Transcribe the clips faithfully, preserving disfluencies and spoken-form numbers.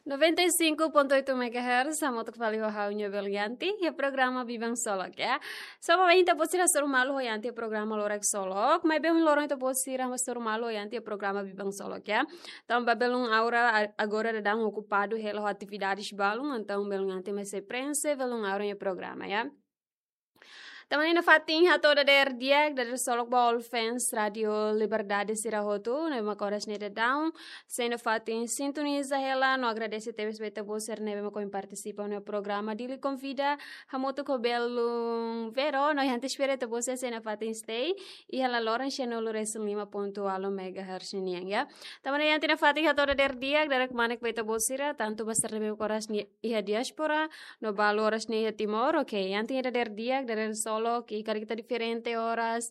Noventa e cinco ponto oito megahertz, hamutuk fali ho ha'u-nia belun Yanti, iha programa Biban Solok, ya. So, ba ita-boot sira hasoru malu ho Yanti iha programa Loron Solok, maibé ohin loron ita-boot sira hasoru malu ho Yanti iha programa Biban Solok, ya. Tanba belun Aura a-, agora daudaun okupadu hela ho atividades balun, entaun belun Yanti mai sei prenxe belun Aura nia programa, ya. Tanba ne'e nafatin hato'o dadeer di'ak, dadeer solok ba all fans Rádio Liberdade sira hotu, ne'ebé mak oras ne'e daudaun sei nafatin sintoniza hela, no agradese tebes ba ita-boot sira ne'ebé mak ohin partisipa iha programa Dili Konvida, hamutuk ho belun Vero, no iha antes espera ita-boot sira sei nafatin stay iha la loran sianulu-resin-lima pontu ualu megahertz nian, ya. Tanba ne'e Yanti nafatin hato'o dadeer di'ak, dadeer kmanek ba ita-boot sira, tantu ba sira ne'ebé mak oras ne'e iha diáspora, no balu oras ne'e iha Timor, oke, Yanti iha dadeer di'ak, dadeer solok, i karik ita diferente oras,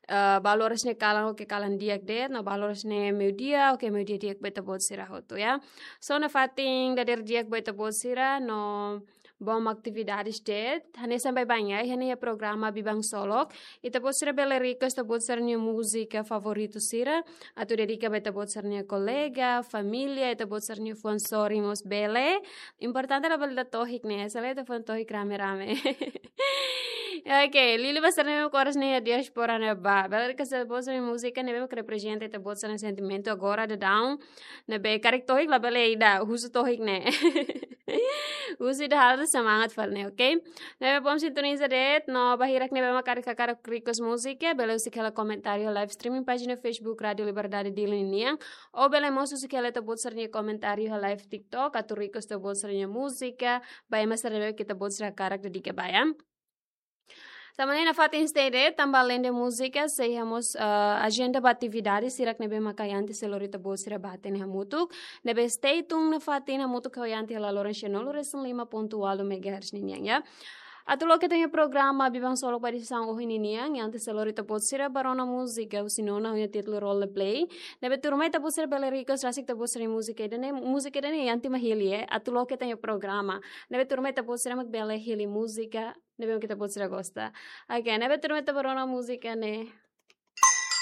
eh, balu oras ne'e kalan, oke, kalan di'ak de'it, no balu oras ne'e meiudia, oke, meiudia di'ak ba ita-boot sira hotu, ya. So nafatin dadeer di'ak ba ita-boot sira, no bom atividades de'it, hanesan baibain, ya, iha ne'e iha programa Biban Solok, ita-boot sira bele request ita-boot sira-nia múzika favoritu sira, atu dedika ba ita-boot sira-nia kolega, família, ita-boot sira-nia fuan sorin mós bele. Importante labele dada tohik ne'e, se lae ita fuan tohik rame-rame. Oke, liuliu ba sira ne'ebé mak oras ne'e iha diáspora ne'ebá. Bele request ita-boot sira-nia múzika ne'ebé mak reprezenta ita-boot sira-nia sentimentu agora daudaun. Ne'ebé karik tohik labele ida, husu tohik ne'e. Husu ida halo semangat fali ne'e, oke? Ne'ebé bom sintoniza de'it, no ba hirak ne'ebé mak karik hakarak request múzika, bele husik hela komentáriu live streaming pájina Facebook Rádio Liberdade Dili nian, ou bele mós husik hela ita-boot sira-nia komentáriu live TikTok, atu request ita-boot sira-nia múzika, ba ema sira ne'ebé ita-boot sira hakarak dedika ba, ya. Tanba ne'e nafatin stay de'it, tanba alende múzika, sei iha mós, ah, ajenda ba atividade sira ne'ebé mak Yanti sei lori ita-boot sira ba hatene hamutuk. Ne'ebé stay tune nafatin hamutuk ho Yanti iha la loran sianulu-resin-lima pontu ualu megahertz ninian, ya. Atu loke ita-nia programa Biban Solok ba edisaun ohin ninian, Yanti sei lori ita-boot sira ba rona múzika, husi nona ho nia títulu Roleplay. Ne'ebé tuirmai ita-boot sira bele request rasik ita-boot sira-nia múzika ida-ne'e, múzika ida-ne'e Yanti mak hili, eh, atu loke ita-nia programa. Ne'ebé tuirmai ita-boot sira mak bele hili múzika ne'ebé mak ita-boot sira gosta. Oke, ne'ebé tuirmai ita ba rona múzika ne'e.